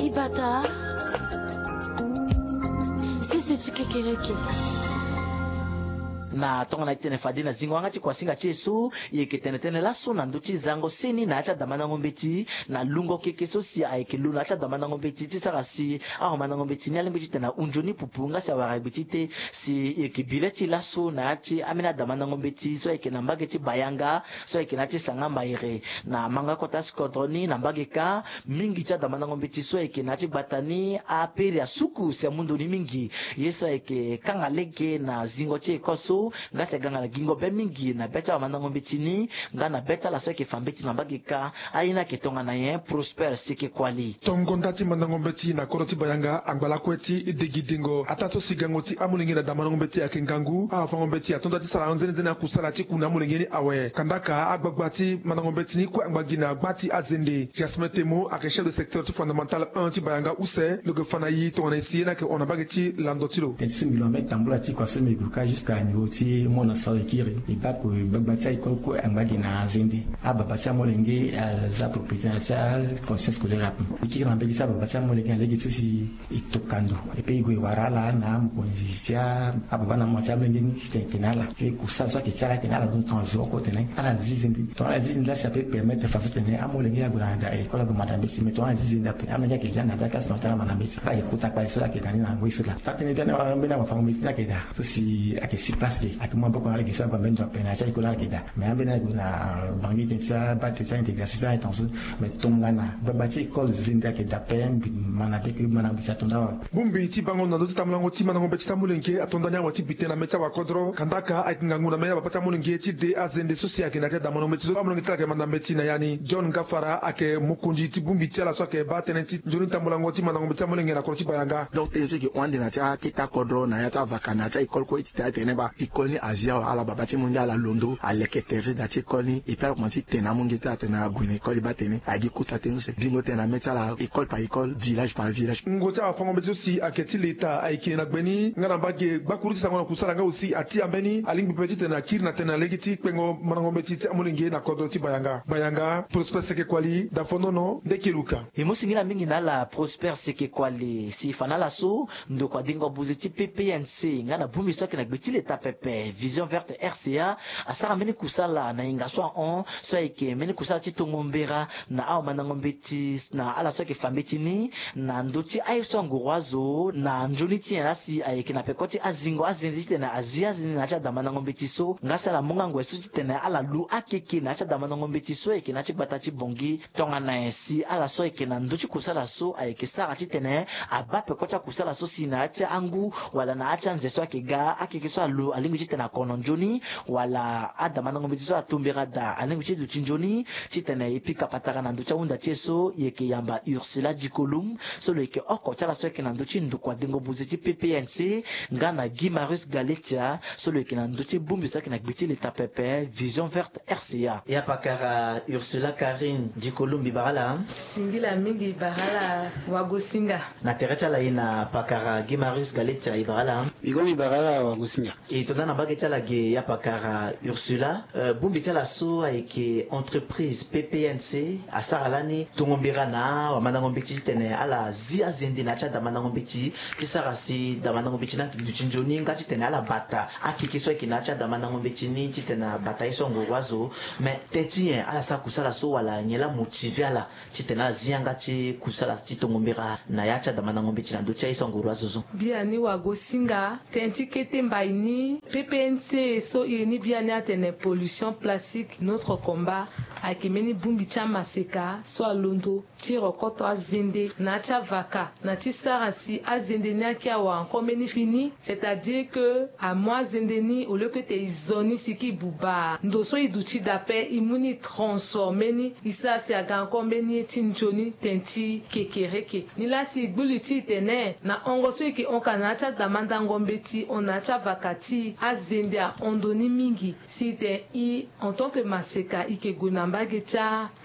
Ibata, sese ti kekereke. Na tongana e tene fade na zingo yanga ti kuasinga ti e so, e yeke tene tënë laso na ndö ti zango seni na ya ti adamandango mbeti na lungo keke so si ayeke lo na ya ti adamandango mbeti ti sara si awamandango mbeti ni alingbi titene ahunzi ni pupu nga si awara gbe ti te si e yeke bi le ti e laso na ya ti ambeni adamandango mbeti so ayeke na mbage ti Bayanga so ayeke na ya ti Sanga Mbaire. Na manga kota ti kodro ni na mbage kâ, mingi ti adamandango mbeti so ayeke na ya ti gbata ni apere asuku si amu ndoni mingi. Ye so ayeke kanga lege na zingo ti école so nga si aga nga na gingo be mingi na be ti awamandango mbeti ni nga na be ti ala so ayeke fa mbeti na mbage kâ. Aye ni ayeke tongana nyen? Prosper Seke Kuali. Tongo nda ti mandango mbeti na kodro ti Bayanga angba lakue ti degidengo ataa so si gango ti amolenge na damandango mbeti ayeke ngangu. Awafango mbeti ato nda ti sara nzene nzene akusala ti ku na amolenge ni awe. Kandaka agbagba ti mandango mbeti ni kue angba gi na gba ti azende. Jasmin Temo ayeke chef de secteur ti fondamental un ti Bayanga use, lo yeke fa na e tongana e si ye ni ayeke hon na mbage ti lando ti lo. Tënë ti so mbi lo ambeni tambula ti kua so mbi gue kâ jusqu'à niveau ti mo na sara e kiri e baa ko gbagba ti a-école kue angba gi na azende. Ababa ti amolenge aza propriété na ti aconscience scolaire ape. E kiri na mbage ti ababa ti amolenge na lege ti so si e tokua ndo. E pe e gue e wara ala na amokonzi ti ababa na mama ti amolenge ni titene e tene ala. E kusala so ayeke ti ala tene ala duti tongana zo oko tene ala zi zende. Tongana ala zi zende la si ape permettre façon tene amolenge ague na da école ague manda mbeti. Mais tongana ala zi zende ape amolenge ayeke lia na da classe na ota ala manda mbeti. Ala yeke kota kpale so ala yeke na ni na ngoi so laa. Taa-tënë biani wala ambeni awafango mbeti ni ayeke daa so si ayeke sur place ge ayeke mu maboko na ala ge so ague ambeni ndo ape na ya ti a-école ala yeke daa. Mais ambeni ague na bangi tënë ti abaa tënë ti a-intégration ti ala tongana so. Mais tongana gbagba ti école zende ayeke daa ape mbi ma na be ke mbi ma na mbeti ato nda awe. Bongbi ti bango na ndö ti tambulango ti mandango mbeti ti amolenge ato nda ni awe ti bi tënë na mê ti awakodro. Kandaka ayeke ngangu na mê ti ababa ti amolenge ti de azende so si ayeke na ya ti adamandango mbeti so amolenge ti ala ayeke manda mbeti na ya ni. John Gafara ayeke mokonzi ti bongbi ti ala so ayeke baa tënë ti nzoni tambulango ti mandango mbeti ti amolenge na kodro ti Bayanga. Donc tënë so e yeke hon ande na ya ti akete akodro na ya ti avaka na ya ti a-école kue ti taa tene baa école ni azi awe ala baba ti molenge ala londo aleke tere ti da ti école ni. Et puis ala komanse ti tene na amolenge ti ala tene ague na école e baa tene ayeke kota tënë so si bingo tënë na mê ti ala école par école, village par village. Ngongo ti awafango mbeti so si ayeke ti leta ayeke na gbe ni nga na mbage gbakuru ti sango na kusala nga aussi ati ambeni alingbi pe titene akiri na tënë na lege ti kpengo mandango mbeti ti amolenge na kodro ti Bayanga. Bayanga, Prosper Seke Kuali, Dafonono, Ndeke Luka. E mu singila mingi na ala Prosper Seke Kuali si e fa na ala so ndokua dengo buzi ti P P N C nga na bongbi so ayeke na gbe ti leta pepe Vision Verte R C A asara mbeni kusala na hinga so ahon so ayeke mbeni kusala ti tongo mbera na awamandango mbeti na ala so ayeke fa mbeti ni na ndö ti aye so anguru azo na nzoni ti nyen laa si ayeke na peko ti azingo azende titene azi azende na ya ti adamandango mbeti so nga si ala mu nga ngoi so titene ala lu akeke na ya ti adamandango mbeti so ayeke na ya ti gbata ti Bangui. Tongana nyen si ala so ayeke na ndö ti kusala so ayeke sara titene abaa peko ti akusala so si na ya ti angu wala na ya ti anze so ayeke ga akeke so alu alingbi Titene akono nzoni wala adamandango mbeti so atumbera daa alingbi ti duti nzoni titene e pika patara na ndö ti ahunda ti e so, e yeke yamba Ursula Dikolum so lo yeke oko ti ala so ayeke na ndö ti ndokua dengo buze ti P P N C, nga na Guy Marius Galetia so lo yeke na ndö ti bongbi so ayeke na gbe ti leta pepe Vision Verte R C A. Ya pakara Ursula Carine Dikolum, mbi bara ala. Singila mingi, bara ala wagosinga. Na tere ti ala e na pakara Guy Marius Galetia, e bara ala. Mbi gue mbi bara ala wagosinga. E tonda na mbage ti ala ge ya pakara Ursula, euh, bongbi ti ala so ayeke entreprise P P N C asara lani tongo mbira na wamandango mbeti titene ala zi azende na ya ti adamandango mbeti ti sara si damandango mbeti ni ayeke duti nzoni nga titene ala bata akeke so ayeke na ya ti adamandango mbeti ni titene abata ye so anguru azo. Mais teti nyen ala sara kusala so wala nyen la motive ala titene ala zi yanga ti kusala ti tongo mbira na ya ti adamandango mbeti na ndö ti aye so anguru azo zo? Biani wagosinga, teti kete mbai ni P P N C so iri ni biani atene pollution plastique, notre combat, ayeke mbeni bongbi ti amaseka so alondo ti rokoto azende na ya ti avaka na ti sara si azende ni ayeke awara encore mbeni fini, c'est-à-dire que amu azende ni au lieu que ete e zo ni si e ke e buba ndo so e duti daa ape, e mu ni e transformer ni, e sara si aga encore mbeni ye ti nzoni teti kekereke. Nilaa si e gbu li ti e tene na hongo so e yeke hon ka na ya ti adamandango mbeti hon na ya ti avaka ti e, azende ahon ndo ni mingi. Si e tene e, en tant que maseka, e yeke gue na mbage ti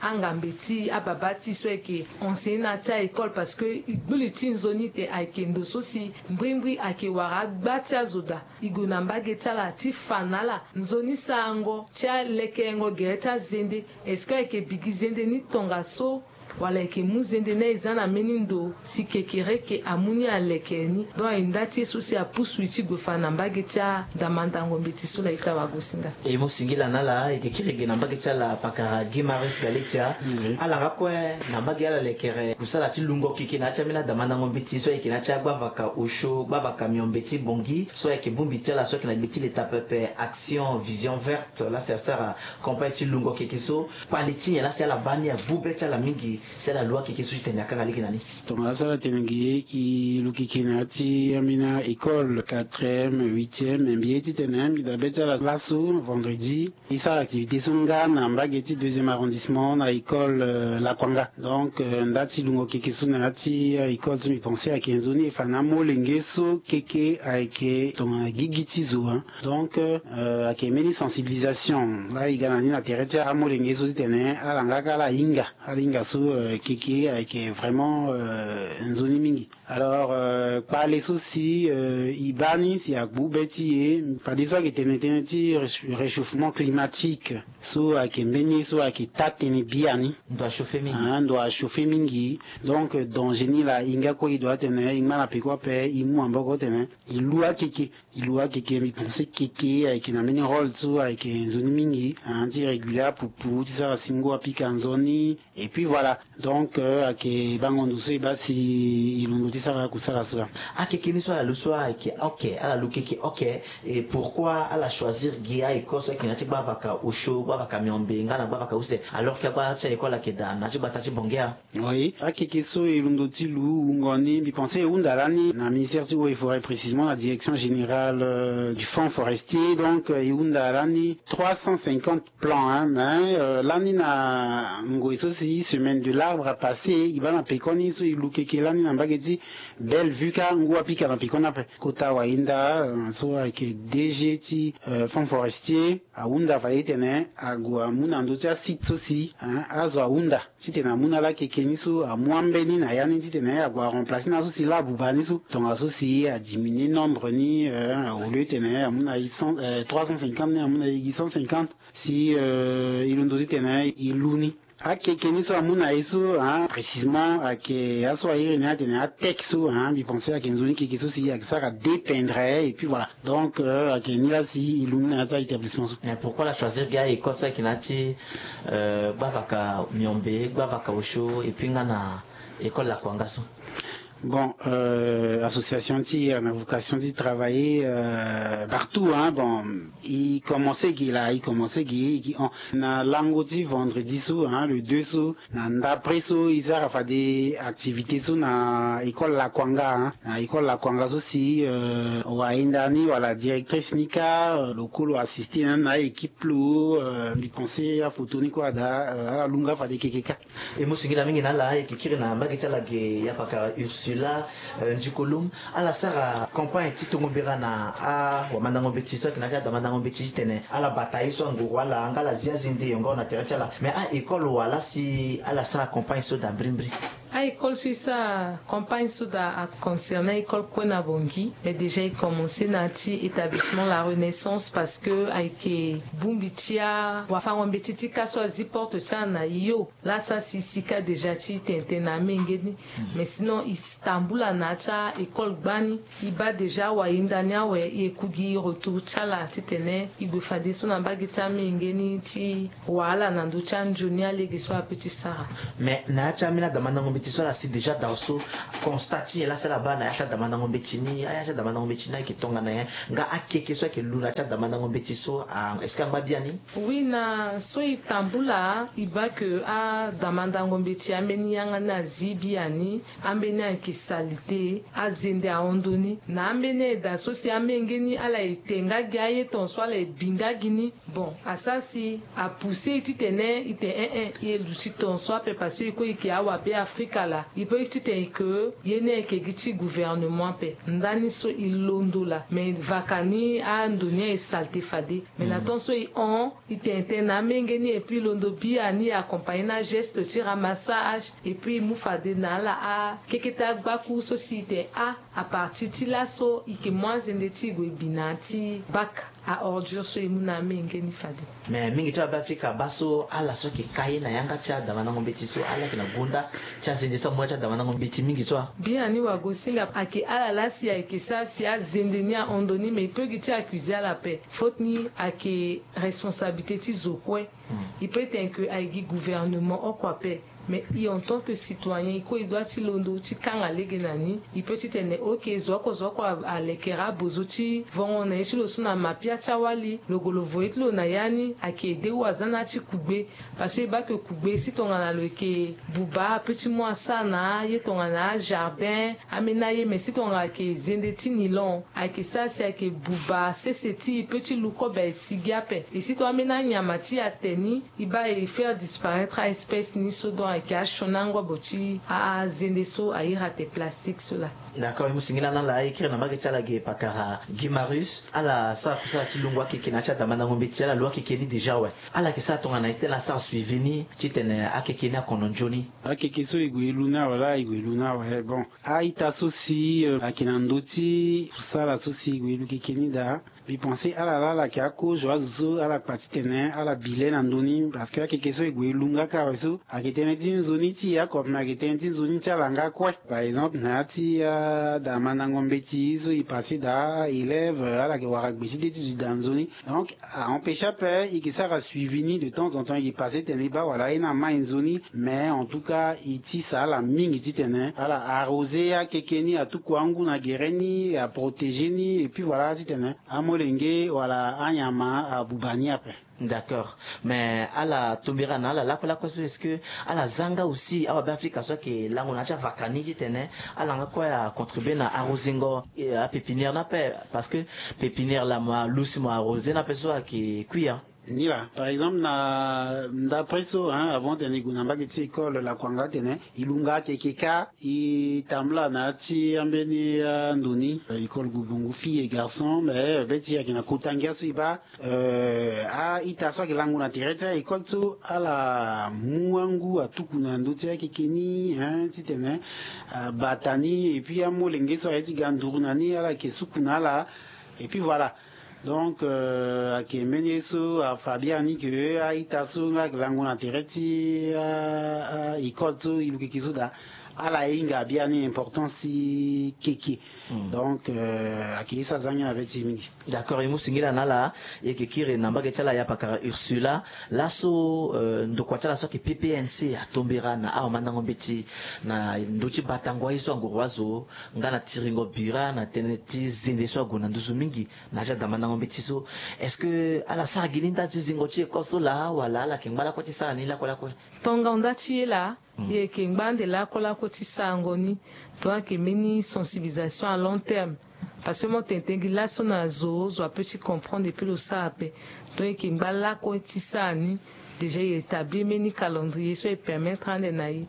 angambe ti e, ababa ti e so ayeke enseigne na ya ti a-école, parce que e gbu li ti nzoni ete ayeke ndo so si mbrimbri ayeke wara agba ti azo daa. E gue na mbage ti ala ti fa na ala nzoni sarango ti alekerengo gere ti azende. Est-ce que ayeke bigi zende ni tongaso, wala e yeke mu zende ni aye za na mbeni ndo si kekereke amu ni alekere ni? Donc aye nda ti ye so si apusu e ti gue fa na mbage ti adamandango mbeti so la ita wagosinga. E mu singila na ala, e yeke kiri ge na mbage ti ala pakara Guy Marius Galetia. Ala nga kue na mbage ala lekere kusala ti lungo keke na ya ti ambeni adamandango mbeti so ayeke na ya ti agbavaka osio, gbavaka miombe ti Bangui so ayeke bongbi ti ala so ayeke na gbe ti leta pepe Action Vision Verte la si asara campagne ti lungo keke so. Kpale ti nyen la si ala baa ni agbu be ti ala mingi si ala lu akeke so ti tene akanga lege na ni? Tongaso ala tene ge e lu keke na ya ti ambeni école quatrième, huitième, mbi ye ti tene mbi daa be ti ala laso vendredi e sara activité so nga na mbage ti deuxième arrondissement na école, euh, Lakuanga. Donc, euh, nda ti lungo keke so na ya ti, euh, école so mbi pense ayeke nzoni e fa na amolenge so keke ayeke tongana gigi ti zo, hein. Donc, euh, ayeke mbeni sensibilisation la e ga na ni na tere ti amolenge so ti tene ala nga kâ ala hinga, ala hinga so, euh, keke ayeke vraiment, euh, nzoni mingi. Alors, euh, kpale so si, euh, e baa ni si agbu be ti e, fadeso ayeke tene tënë ti réchau-, réchauffement climatique so ayeke mbeni ye so ayeke taa tënë biani. Ndo achauffer mingi. Ah, ndo achauffer mingi. Donc, euh, danger ni laa e nga kue e doit tene e ngba na peko ape e mu maboko tene e lu akeke. E lu akeke, mbi pense keke ayeke na mbeni rôle so ayeke nzoni mingi, hein, ti réguler apupu ti sara si ngu apika nzoni. Et puis voilà. Donc, euh, ayeke bango ndo so e baa si e londo ti sara akusala so laa. Akeke ni so ala lu so ayeke oke, ala lu keke oke. Et pourquoi ala choisir gi a-école so ayeke na ya ti gbavaka osio, gbavaka miombe nga na gbavaka use, alors que agba ti a-école ayeke daa na ya ti gbata ti Bangui? Oui, akeke so e londo ti lu wungo ni, mbi pense e hunda lani na ministère ti eaux et forêts, précisément la direction générale, euh, du fonds forestier. Donc, euh, e hunda lani trois cent cinquante plans, hein, mais, euh, lani na ngoi so si semaine de l'arbre a passé, e baa na pekoni so e lu keke lani na mbage ti Bellevue kâ ngu apika na pekoni ape. Kota Wahinda, euh, so ayeke D G ti, euh, fonds forestier, ahunda fade titene ague amu na ndö ti asite so si, hein, azo ahunda titene amu na ala keke ni so amu ambeni na ya ni titene ague aremplacer na aso si laa abuba ni so. Tongaso si adiminuer nombre ni, euh, au lieu titene amu na huit cents, euh, trois cent cinquante ni amu na huit cent cinquante. Si, euh, e londo titene e lu ni. Akeke ni so amu na e so, hein, précisément ayeke aso airi ni atene ateke so, hein, mbi pense ayeke nzoni keke so si ayeke sara dépendre, et puis voilà. Donc, euh, ayeke ni la si e lu ni na ya ti a-établissement so. Mais pourquoi ala choisir gi a-école so ayeke na ya ti, euh, gbavaka miombe, gbavaka osio, et puis nga na école Lakuanga so? Bon, euh, association ti, euh, na vocation ti travailler, euh, partout, hein. Bon, i commencé gi la, i commencé gi, i gi on. Na lango ti vendredi so, hein, le deux so, na ndapre so, i sara fade activité so na école Lakwanga, hein. Na école Lakwanga so si, euh, wayenda ni wala directrice ni ka, euh, lo kue lo assisté na, na équipe lo, euh, mbi pensé aphoto ni kue ada, euh, ala lunga fade keke ka. E mu singila mingi na ala, e yeke kiri na mbage ti ala ge ya pakara Ursula, euh, Ndikolum. Ala sara campagne ti tongo mbera na awamandango mbeti so ayeke na ya ti adamandango mbeti titene ala bata ye so anguru ala nga ala zi azende yongo na tere ti ala. Mais a-école wala si ala sara campagne so daa brimbri? A-école so e sara campagne so daa aconcerné a-école kue na Bangui. Mais déjà e commencé na ya ti établissement La Renaissance, parce que ayeke bongbi ti awafango mbeti ti ka so azi porte ti ala na yo. Laa sa si si ka déjà ti tene tene na amenge ni. Mais sinon e tambula na ya ti a-école gbani. E baa déjà wayenda ni awe, e ku gi retour ti ala titene e gue fadeso na mbage ti amenge ni ti wahala na ndö ti anzoni alege so ape ti sara. Mais na ya ti ambeni adamandango mbeti so ala si déjà dao so, constat ti nyen laa si ala baa na ya ti adamandango mbeti ni, aya ti adamandango mbeti ni ayeke tongana nyen? Nga akeke so ayeke lu na ya ti adamandango mbeti so, a, est-ce que angba biani? Oui, na so e tambula e baa ke adamandango mbeti ambeni yanga ni azi biani. Ambeni ayeke salite, azende ahon ndoni. Na ambeni ayeke daa so si amenge ni ala e te nga gi aye tongaso, ala e bi nga gi ni. Bon, asara si apoussé e titene e te en en, e luti tongaso ape, parce que e kue e yeke awabe Afrika laa. E peut titene e ke ye ni ayeke gi ti gouvernement ape. Ndani so e londo laa, mais vaka ni ando ni aye salite fade. Mais na temps so e hon, e tene tënë na amenge ni, et puis e londo biani, e accompagné na ageste ti ramassage, et puis e mu fade na ala akeke ti agbakuru so si e tene a, à partir ti laso e yeke mu azende ti e gue bi na ya ti bac à ordures so e mu na amenge ni fade. Mais mingi ti awabe Afrika baa so ala so ayeke ka ye na yanga ti adamandango mbeti so, ala yeke na gonda ti azende so amu ya ti adamandango mbeti mingi so a. Biani wagosinga ayeke ala laa si ayeke sara si azende ni ahon ndoni, mais e peut gi ti accuser ala ape. Faute ni ayeke responsabilité ti zo kue. E peut tene ke aye gi gouvernement oko ape. Mais e en tant que citoyen, e kue e doit ti londo ti kanga lege na ni. E peut titene ok, zo oko zo oko a, alekere abozo ti vongo na ye ti lo so na mapia ti awali, lo gue lo voye ti lo na ya ni, ayeke aidé ou aza na ya ti kugbe. Parce que e baa ke kugbe si tongana lo yeke buba ape ti mu asara na aye tongana ajardin, ambeni aye, mais si tongana ayeke zende ti nilon, ayeke sara si ayeke buba sese ti e peut ti lu kobe aye sigi ape. E si tongana ambeni anyama ti e ate ni, e baa e faire disparaître a-espèce ni so, donc ayeke asioni angobo ti azende so a iri ate plastique so laa. D'accord, e mu singila na ala, e kiri na mbage ti ala ge pakara Guy Marius. Ala sara kusala ti lungo akeke na ya ti adamandango mbeti, ala lu akeke ni déjà awe. Ala yeke sara tongana nyen ti tene asara suivi ni titene akeke ni akono nzoni? Akeke so e gue e lu ni awe laa, e gue e lu ni awe. Bon, a-ita so si, euh, ayeke na ndö ti kusala so si e gue e lu keke ni daa, mbi pensé ala laa ala yeke ako zo azo so ala kpa titene ala bi le na ndö ni, parce que akeke so e gue e lu nga kâ awe so, ayeke tënë ti nzoni ti e oko, mais ayeke tënë ti nzoni ti ala nga kue. Par exemple na ya ti, euh, adamandango mbeti so e passé daa élève, euh, ala yeke wara gbe ti de ti zo e daa nzoni. Donc a empêché ape e yeke sara suivi ni de temps en temps, e yeke passé tene e baa wala aye ni amai nzoni. Mais en tout cas e tisa ala mingi titene ala arrosé akeke ni, atuku angu na gere ni, aprotéger ni, et puis voilà, titene amolenge wala anyama abuba ni ape. D'accord. Mais ala tombera na ala lakue lakue so, est-ce que ala za nga aussi awabe Afrika so ayeke lango na ya ti avaka ni titene ala nga kue acontribué na arrosingo, eh, apépinière ni ape? Parce que pépinière laa mo alusi mo arrosé ni ape so ayeke kui ya. Ni laa, par exemple, na ndapre so, hein, avant tene e gue na mbage ti école Lakwanga tene, e lu nga akeke kâ, e tambula na ya ti ambeni ando ni, euh, école Gobongo, filles et garçons, mais, euh, be ti e ayeke na kota ngia so e baa, euh, a-ita so ayeke lango na tere ti a-école so, ala mu angu atuku na ndö ti akeke ni, hein, titene, euh, abata ni, et puis amolenge so aye ti ga nduru na ni, ala yeke suku na ala, et puis voilà. Donc, euh, ayeke mbeni ye so afa biani ke a-ita so nga ayeke lango na tere ti a, a, école so e lu keke so daa. Ala hinga biani importance ti keke. Donc ayeke ye so aza ni na be ti mingi. D'accord, e mu singila na ala. E yeke kiri na mbage ti ala ya pakara Ursula. Laso ndokua ti ala so ayeke ppnc atombera na awamandango mbeti na ndö ti batango aye so anguru azo nga na tiringo bira na tënë ti zende so ague na nduzu mingi na ya ti adamandango mbeti so. Est-ce que ala sara gi ni nda ti zingo ti école so laa wala ala yeke ngba lakue ti sara ni lakue lakue? Tonga nda ti ye laa. E yeke ngba ande lakue lakue ti sarango ni. Donc ayeke mbeni sensibilisation à long terme. Parce que mo tene tene gi laso na zo zo ape ti comprendre epui lo sara ape. Donc e yeke ngba lakue ti sara ni. Déjà e établir mbeni calendrier so e permettre ande na e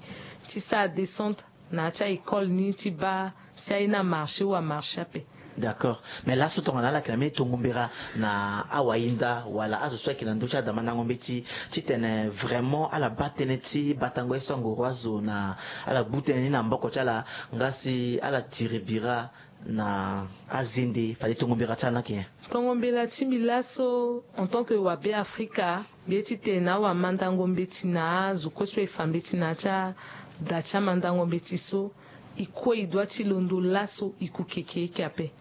ti sara descente na ya ti a-école ni ti baa si aye ni amarché ou amarché ape. D'accord, mais laso tongana ala yeke na mbeni tongo mbera na awahinda wala azo so ayeke na ndö ti adamandango mbeti titene vraiment ala baa tënë ti batango ye so anguru azo na ala gbu tënë ni na maboko ti ala nga si ala tiri bira na azende fade tongo mbera ti ala ni ayeke nyen? Tongo mbela ti mbi laso en tant que wabe afrika, mbi ye ti tene na awamandango mbeti na azo kue so e fa mbeti na ya ti ada ti amandango mbeti so, e kue e dua ti londo laso e ku keke eke ape.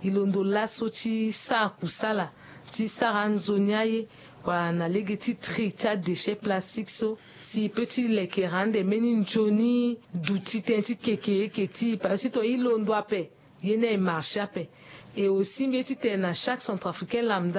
E londo laso ti sara kusala ti sara anzoni aye wala na lege ti tri ti adéchet plastique so si e peut ti lekere ande mbeni nzoni duti tënë ti keke eke ti e parce que si tongana e londo ape, ye ni aye marché ape. Et aussi mbi ye ti tene na chaque centrafricain lambda